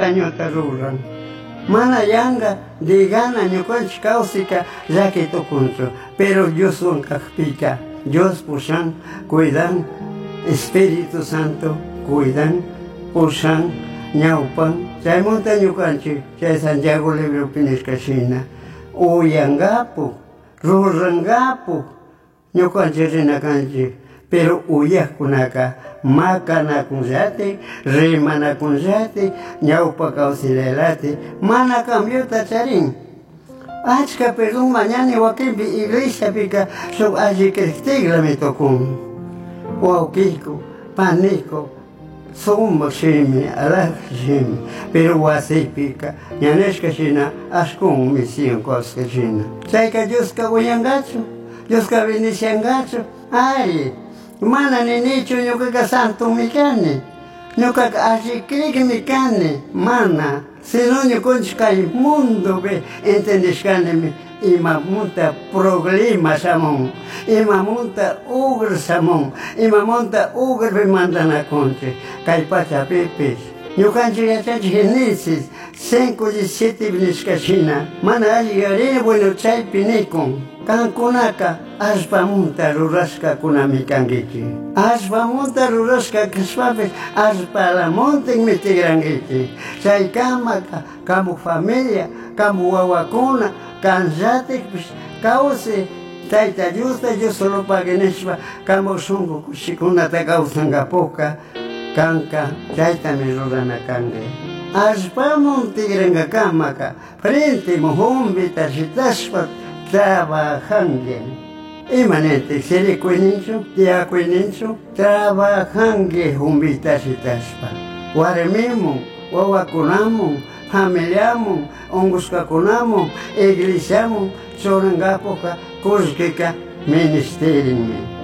Dañota ruran. Mana yanga digana ñukanchik kawsayka llaki tukunchu. Pero Dioswan kakpika Dios pushan, cuidan, Espíritu Santo cuidan, pushan, ñawpan. Chaymanta ñukanchik chay Santiago libropi nishka shina uyangapu, rurangapu ñukanchik rina kanchik. Pero uyajkunaka makanakunllati, rimanakunllati, ñawpa kawsaylaylati mana cambiota charin. Achka perdón mañani wakinpi iglesiapika shuk alli criktiklami tukun. Wawkiyku, paniku, sumak shimi, alhaja shimi, pero wasipika ña nishka shina ashkun misión kawsashka shina. Chayka Dioska uyangachu, Dioska bendiciangachu, ari, mana ninichu ñukaka santomi kani, ñukaka alli crikmi kani, mana, sino ñukanchik kay mundopi entendishkanimi imamunta problema shamun, imamunta ugra shamun, imamunta ugrapi mandanakunchik kay pachapipish. Ñukanchik yachanchik Génesis 5:17 nishka shina, mana alli yuyarini, bueno chaypi nikun, kankunaka allpamunta rurashkakunami kankichik. Allpamunta rurashka kashpapish allpalamuntinmi tigrankichik. Chaykamaka kamu familia, kamu wawakuna, kanllatikpish kawsay Tayta Diosta Dios solo pagui nishpa kamu shunku kushikunata kawsankapuka kanka chaytami rurana kanki. Allpamun tigrankakamaka frente mujumbita shitashpa trabajanki. Ima nintik sirikuyninchu, tiyakuyninchu, trabajanki jumbita shitashpa. Warmimun, wawakunamun, familiamun, unkushkakunamun, iglesiamun churankapuka kullkika ministerinmi.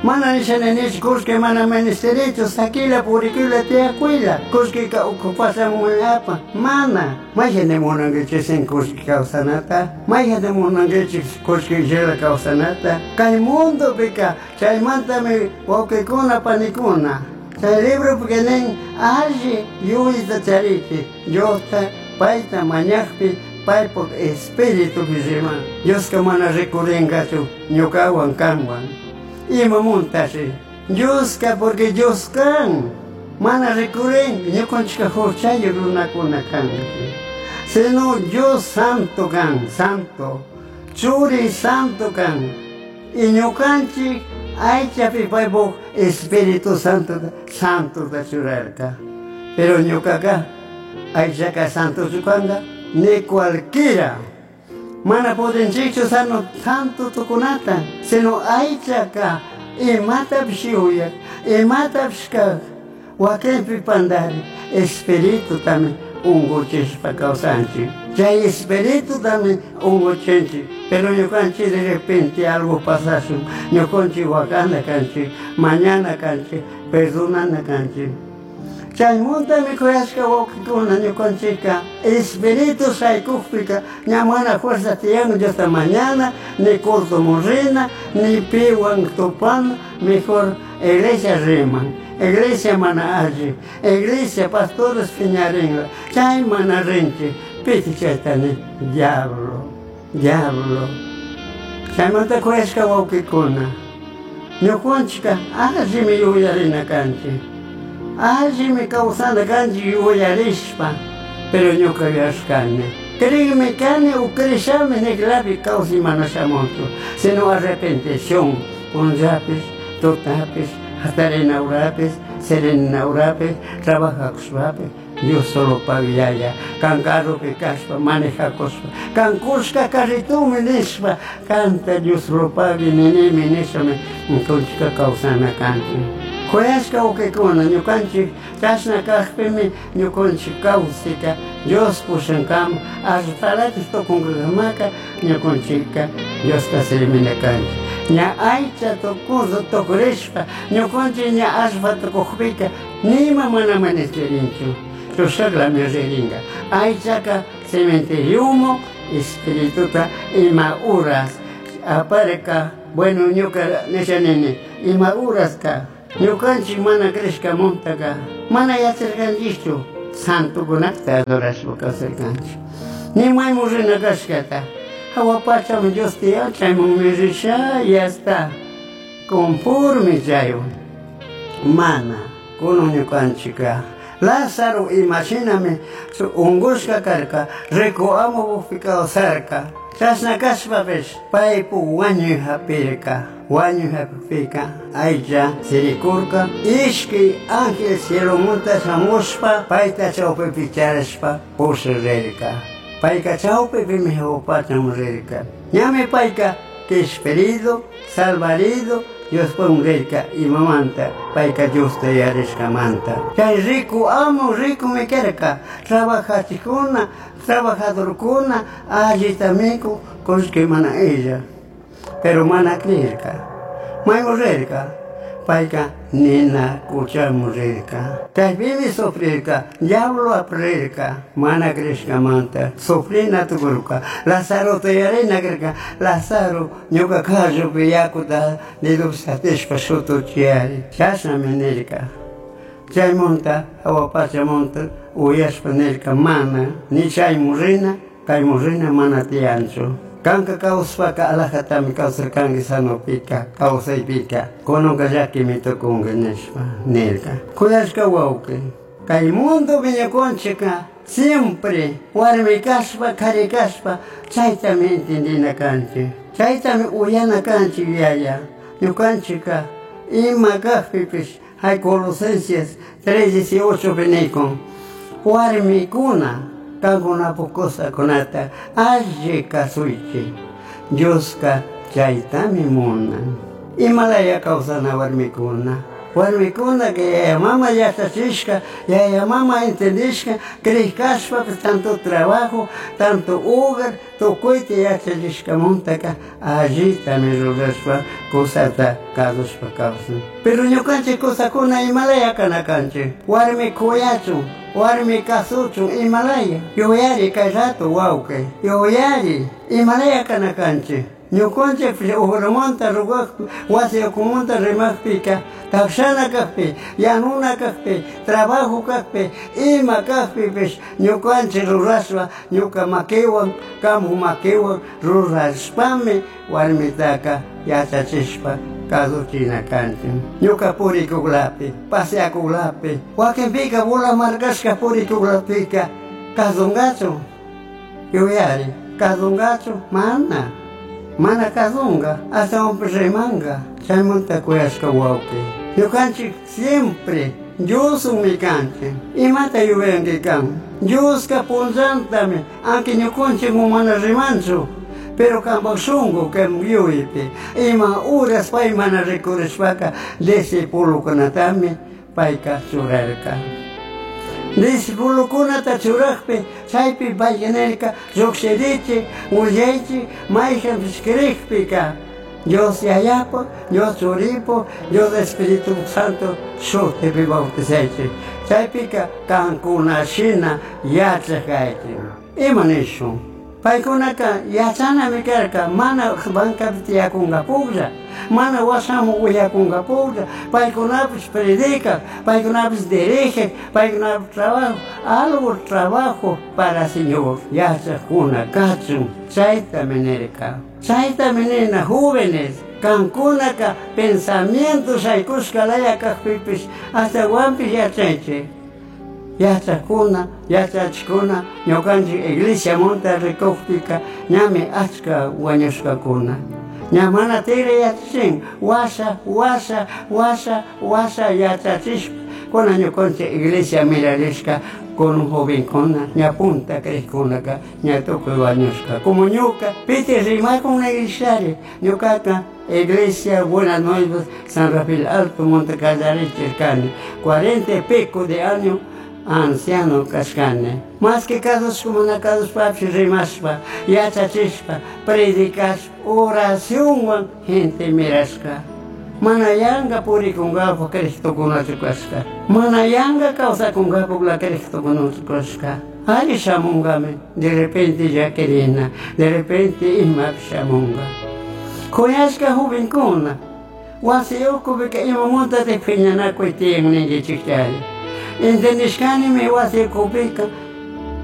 Mana nisha ninichu kullki mana ministerichu, sakila, purikuyla, tiyakuyla, kullkika ukupashamunmi apa. Mana, mayjanta munankichik sin kullki kawsanata, mayjanta munankichik kullkillala kawsanata. Kay mundopika chaymantami wawkikuna panikuna. Chay libropika nin alli yuyayta charichik Diosta payta mañakpi paypuk espiritupi riman. Dioska mana rikurinkachu ñukawan kanwan. Imamuntashi Dioska porque Dios kan mana rikurin ñukanchika huchayuq runakuna kanchik. Sino Dios santo kan, santo, churi santo kan. Y ñukanchik aychapi paypuk Espíritu Santo santota churarka. Pero ñukaka aychaka santochu kanka ni cualquiera. Mana pudinchikchu sano santo tukunata, sino aychaka imatapish yuyak, imatapish kak, wakinpi pandari, espiritutami unguchishpa kawsanchik. Chay espiritutami unguchinchik, pero ñukanchik de repente algo pasashun, ñukanchik wakana kanchik, mañana kanchik, perdonana kanchik. Chaymantami kuyashka wawkikuna ñukanchikka espíritu shaykukpika ña mana fuerza tiyan Diosta mañana, ni cultomun rina, ni piwan tupana, mejor iglesia riman, iglesia mana alli, iglesia pastores piñarinla, chay mana rinchik, piti chayta ni diablo, diablo. Chaymanta kuyashka wawkikuna, ñukanchikka allimi yuyarina kanchik. Allimi kawsana kanchik yuyarishpa, pero ñuka yuyashkani. Criymi kani o crishami niklapi kawsay mana shamunchu, sino arrepentición, punllapish, tutapish, hatarina urapish, sirina urapish, trabajakushpapish, Dios solo pagui yaya, kan carropi kashpa, manejakushpa, kan kushka carritumi nishpa, kanta Dios solo pagui ninimi nishpami ñukanchikka kawsana kanchik. Kuyashka wawkikuna ñukanchik chashna kakpimi ñukanchik kawsayka Dios pushankama allpalatik tukunkakamaka ñukanchikka Diosta servina kanchik. Ña aycha tukurdo tukurishpa ñukanchik ña allpa tukukpika nima mana ministerinchu. Chushaklami ririnka. Aychaka cementeriomu espirituta ima uras aparika, bueno ñuka nisha nini ima uraska ñukanchik mana crishkamuntaka mana yacharkanchikchu. Santokunata adorashpa kawsarkanchik. Ni mayman rina kashkata. Hawa pachaman Dios tiyan, chaymanmi risha y hasta conforme chaywan. Mana, kunan ñukanchikka. Lázaro imashinami ungushka karka, rico amopukpi kawsarka. Chashna kashpapish paypuk wañuy hapirka. Wañuy hapikpika aycha sirikurka. Ishki ángel cielomanta shamushpa payta chawpipi charishpa pusharirka. Payka chawpipimi hawa pachaman rirka. Ñami payka kishpirido, salvarido, Diospun rirka imamanta, payka Diosta yarishkamanta. Chay rico amo ricomi karka, trabajachikuna, trabajadorkuna allita mikun, kullki mana illa. Pero mana creerka. Mayman rirka, payka nina kuchaman rirka. Chaypimi sufrirka, diablo aprirka, mana crishkamanta, sufrina tukurka. Lazarota yarina karka, Lazaro ñuka kallupi yakuta dedopi satishpa shutuchiyari. Chashnami nirka. Chaymunta, hawa pachamunta uyashpa nirka, mana, ni chaymun rina, kaymun rina mana tiyanchu. Kanka kawsashpaka alajatami kawsarkanki sanopika, kawsaypika, kunanka llakimi tukunki nishpa nirka. Kuyashka wawqi, kay mundopi ñukanchikka siempre warmi kashpa, kari kashpa, chaytami entendina kanchik, chaytami uyana kanchik yaya. Ñukanchikka ima kakpipish, hay Colosenses 3:18 pi nikun, warmikuna kankunapuk kusakunata alli kasuychik, Dioska chaytami munan. Imalaya kawsana warmikuna. Warmikuna que yaya mama yachachishka, yaya mama entendishka, creek kashpapish tanto trabajo, tanto hogar, tukuyta yachachishkamuntaka allitami rurashpa kusata kasushpa kawsan. Pero ñukanchik kusakuna imalaya kana kanchik, warmi kuyachun, warmi kasuchun imalaya. Yuyari kay rato wawqi, yuyari imalaya kana kanchik. Ñukanchik ujramanta rugakpi, wasi ukumanta rimakpika, takshana kakpi, yanuna kakpi, trabajo kakpi, ima kakpipish ñukanchik rurashpa, ñuka makiwan, kamu makiwan rurashpami warmitaka yachachishpa kasuchina kanchik. Ñuka purikuklapi, paseakuklapi, wakinpika bola markashka purikuklapika kasunkachu, yuyari, kasunkachu, mana. Mana kasunka, ashtawanpish rimanka, chaymanta kuyashka wawqi. Ñukanchik siempre Diosmi kanchik. Imata yuyanki kan? Dioska punllantami, aunque ñukanchik mana rimanchu, pero kampak shunku kan yuyaypi. Ima uras pay mana rikurishpaka discipulukunatami payka churarka. Discipulukunata churakpi chaypi payka nirka, llukshirichik, willaychik, mayjanpish crikpika Dios Yayapo, Dios Churipo, Dios Espíritu Santo shutipi bautizaychik. Chaypika kankuna shina yachak kaychik. Ima nishun? Paykunaka yachanami karka, mana bancapi tiyakunkapuklla, mana washamu willakunkapuklla, paykunapish predikak, paykunapish dirigek, paykunapish trabajo, algo trabajo para Señor yachakuna kachun, chaytami nirka. Chaytami nina jóvenes, kankunaka pensamiento shaykushka laya kakpipish ashtawanpish yachaychik. Yachakuna, yachachikuna, ñukanchik iglesia munta rikukpika ñami achka wañushkakuna. Ña mana tira yachachin, washa, washa, washa, washa yachachishpa, kuna ñukanchik iglesia mirarishka con jovenkuna, ña punta crikkunaka, ña tukuy wañushka. Como ñuka, piti rimakun iglesiari, ñukaka Iglesia Buenas Nuevas, San Rafael Alto, Montecallarichirkani, 40 y pico de años anciano kashkani. Más que kasushpa, mana kasushpapish rimashpa, yachachishpa, predicashpa, oracionwan gente mirashka. Mana yanka purikunkapak Cristokunachu kashka. Mana yanka kawsakunkapukla Cristokunachu kashka. Alli shamunkami, de repente llakirina, de repente imapish shamunka. Kuyashka jovenkuna, wasi ukupika imamuntatik piñanakuy tiyan ninkichikchari. Entendishkanimi wasi ukupika.